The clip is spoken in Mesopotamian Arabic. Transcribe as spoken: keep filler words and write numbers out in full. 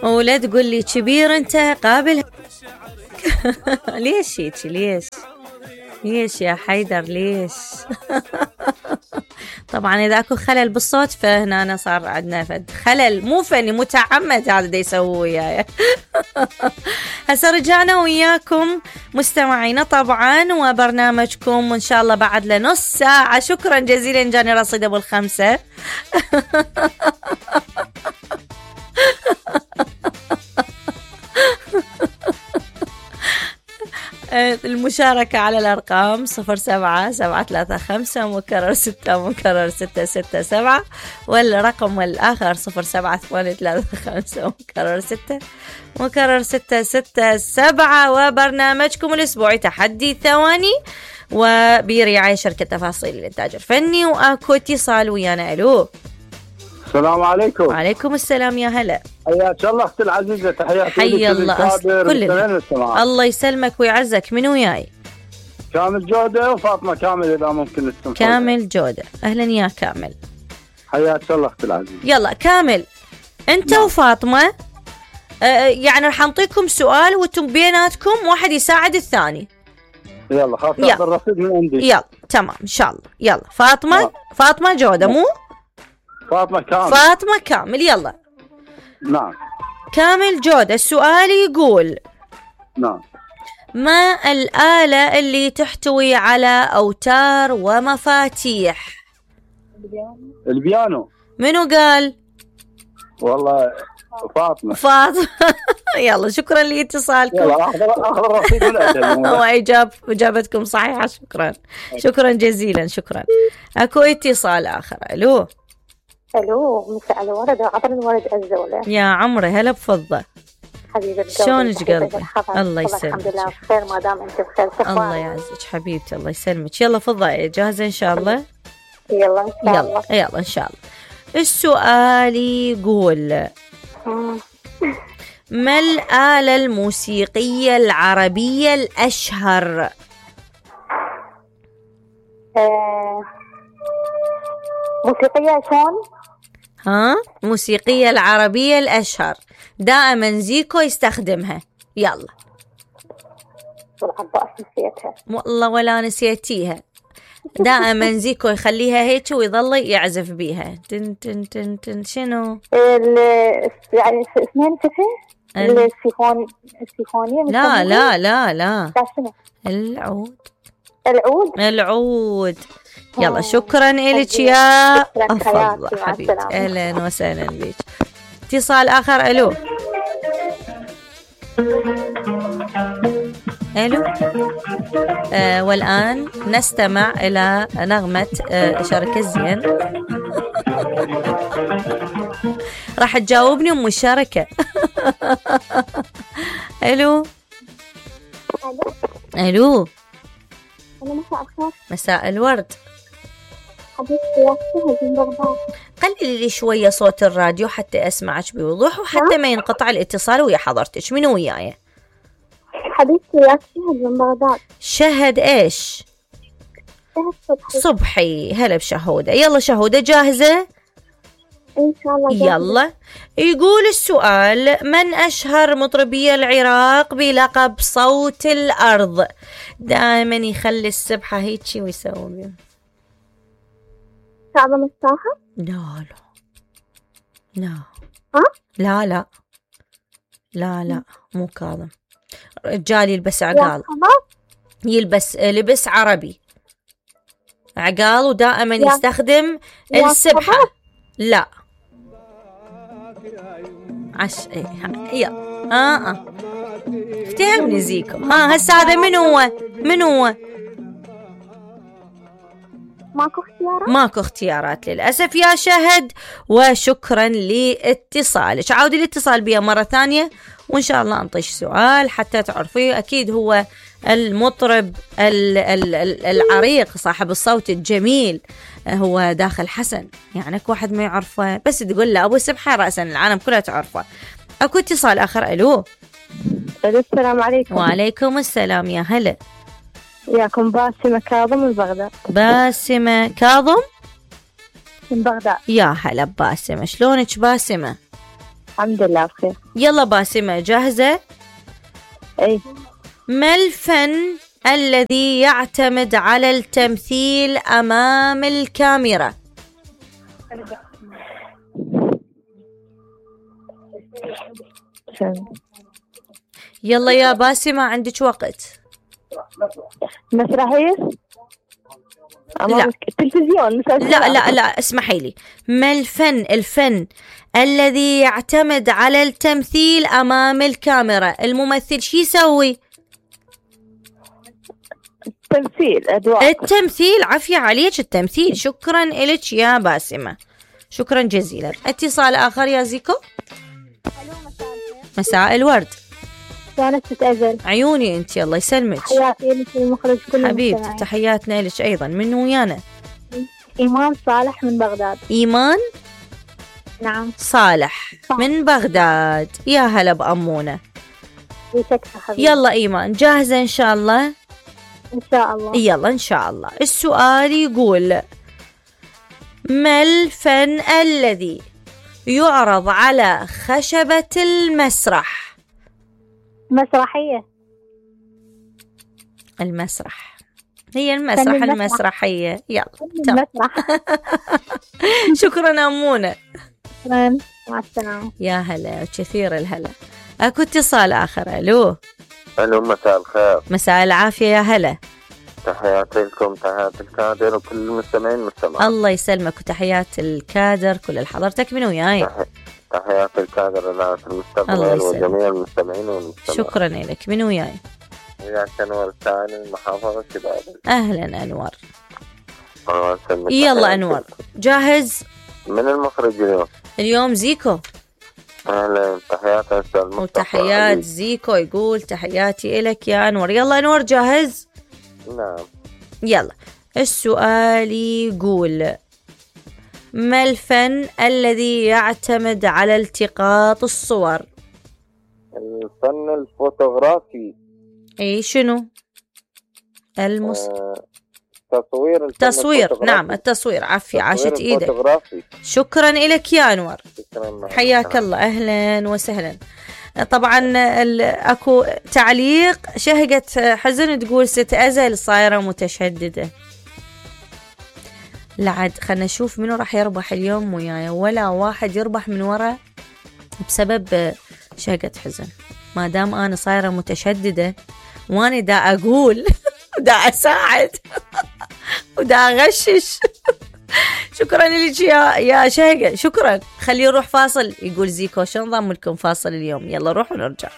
ولا تقول لي كبير انت قابل. ليش هيك ليش ليش يا حيدر ليش؟ طبعا اذا اكو خلل بالصوت فهنا أنا صار عندنا فد خلل مو فني متعمد هذا دا يسووه وياي. هسه رجعنا وياكم مستمعينا طبعا وبرنامجكم وان شاء الله بعد لنص ساعة. شكرا جزيلا جاني رصيد ابو الخمسة. المشاركة على الأرقام صفر سبعة سبعة ثلاثة خمسة مكرر ستة مكرر ستة ستة سبعة والرقم الآخر صفر سبعة ثمانية ثلاثة خمسة مكرر ستة مكرر ستة ستة سبعة. وبرنامجكم الأسبوعي تحدي ثواني وبرعاية شركة تفاصيل الإنتاج الفني. وأكو اتصال ويانا. ألو السلام عليكم. وعليكم السلام يا هلا. حياك الله اختي العزيزه. تحياتي حي الله كل الله يسلمك ويعزك. من وياي؟ كامل جوده وفاطمه كامل اذا ممكن السمح. كامل جوده اهلا يا كامل. حياك الله اختي العزيزه. يلا كامل انت نعم. وفاطمه آه يعني راح نعطيكم سؤال وانتم بيناتكم واحد يساعد الثاني. يلا خلاص تاخذ الرصيد من عندي. يلا تمام ان شاء الله. يلا فاطمه نعم. فاطمه جوده مو فاطمة كامل. فاطمة كامل. يلا نعم. كامل جودة السؤال يقول نعم ما الآلة اللي تحتوي على أوتار ومفاتيح؟ البيانو. منو قال؟ والله فاطمة. فاطمة. يلا شكرا لاتصالكم. يلا أخذ أخذ الرصيد من أجل. وإجاب إجابتكم صحيحة. شكرا شكرا جزيلا. شكرا. أكو اتصال آخر. ألو الو مساء الورد عبر الورد الزولة. يا عمري هلا بفضة. حبيبة شلونك قلبي؟ الله يسلمك. الحمد لله بخير ما دام انت بخير. الله يعزك حبيبتي الله يسلمك. يلا فضة جاهزة ان شاء الله؟ يلا ان شاء الله. يلا يلا ان شاء الله. السؤال يقول ما الآلة الموسيقية العربية الأشهر؟ آه موسيقية شلون؟ ها موسيقية العربية الأشهر دائما زيكو يستخدمها. يلا. والعباس نسيتها. والله ولا نسيتيها. دائما زيكو يخليها هيك ويظل يعزف بيها. تن تن تن تن شنو؟ يعني اسمين كيفه؟ السيفون السيفونية. لا لا لا لا. شنو؟ العود. العود. العود. يلا شكرا إلك يا أفضل حبيبتي. أهلا وسهلا بك. اتصال آخر. ألو ألو آه والآن نستمع إلى نغمة آه شركة زين. راح تجاوبني أم الشركة. ألو ألو مساء الخير. مساء الورد. حبيبتي يا شهد من بغداد. قللي لي شوية صوت الراديو حتى أسمعك بوضوح وحتى ما ينقطع الاتصال ويا حضرتك. منو وياي؟ حبيبتي يا شهد من بغداد. شهد إيش؟ شهد صبحي. صبحي هلا بشهودة. يلا شهودة جاهزة؟ إن شاء الله جاهزة. يلا. يقول السؤال من أشهر مطربي العراق بلقب صوت الأرض؟ دائما يخلي السبحة هيك ويسوي. كاظم الساهر؟ لا لا لا. ها؟ لا لا لا لا مو كاظم. رجال يلبس عقال. يلبس لبس عربي عقال ودائما يستخدم السبحة. لا عش يلا. اه اه افتهمني زيكو. ها هسه هذا من هو؟ من هو؟ ماكو اختيارات؟ ماكو اختيارات للأسف يا شهد. وشكرا لاتصالك. عاودي الاتصال بيا مرة ثانية وإن شاء الله أنطيش سؤال حتى تعرفيه. أكيد هو المطرب العريق صاحب الصوت الجميل هو داخل حسن. يعني اكو واحد ما يعرفه بس تقول له أبو سبحة رأسا العالم كلها تعرفه. أكو اتصال آخر. ألو السلام عليكم. وعليكم السلام يا هلا. ياكم باسمة كاظم من بغداد. باسمة كاظم من بغداد. يا هلا باسمة. شلونك باسمة؟ الحمد لله بخير. يلا باسمة جاهزة؟ اي. ما الفن الذي يعتمد على التمثيل أمام الكاميرا؟ يلا يا باسمة عندك وقت. مسرحية؟ لا التلفزيون. لا لا لا اسمحي لي. ما الفن الفن الذي يعتمد على التمثيل أمام الكاميرا؟ الممثل شي يسوي؟ التمثيل أدوار. التمثيل. عافية عليك التمثيل. شكرا إلك يا باسمة، شكرا جزيلا. اتصال آخر يا زيكو. مساء الورد. كانت تتأذل عيوني انت، الله يسلمك. حياتي لك المخرج كل حبيبتي تحياتنا لك ايضا. من ويانا؟ إيمان صالح من بغداد. ايمان نعم صالح صح. من بغداد. يا هلا بأمونة. حبيبي. يلا ايمان جاهزة ان شاء الله؟ ان شاء الله. يلا ان شاء الله. السؤال يقول: ما الفن الذي يعرض على خشبة المسرح؟ مسرحية. المسرح هي المسرح المسرح. المسرحية. يلا المسرح. شكرا أمونة. شكرا، مع السلامة. يا هلا كثير الهلا. أكو اتصال آخر. ألو. الو مساء الخير. مساء العافية يا هلا. تحياتي لكم، تحيات الكادر وكل المستمعين المستمعين. الله يسلمك وتحيات الكادر كل حضرتك. من وياي؟ تحيات الكادر إذاعة المستقبل وجميع المستمعين والمستمعين. شكرا لك. من وياي؟ وياك أنور الثاني محافظة كبابة. أهلا أنور. الله يسلمك. يلا أنور جاهز؟ من المخرج اليوم؟ اليوم زيكو. أهلا، تحيات أستاذ مصطفى. وتحيات زيكو يقول تحياتي إلك يا أنور. يلا أنور جاهز؟ نعم. يلا السؤال يقول: ما الفن الذي يعتمد على التقاط الصور؟ الفن الفوتوغرافي. اي شنو؟ المس... آه، تصوير. تصوير. نعم التصوير. عافية عاشت ايدك. الفوتوغرافي. شكرا لك يا انور. شكرا. حياك الله. اهلا وسهلا. طبعا اكو تعليق شهقة حزن تقول: ست أزل صايرة متشددة. لعد خلنا نشوف منو راح يربح اليوم وياي. ولا واحد يربح من ورا بسبب شهقة حزن. ما دام انا صايرة متشددة وانا دا اقول دا اساعد ودا اغشش. شكرا لك يا يا شهقة، شكرا. خليه يروح فاصل. يقول زيكو شو نظام لكم فاصل اليوم؟ يلا روح ونرجع.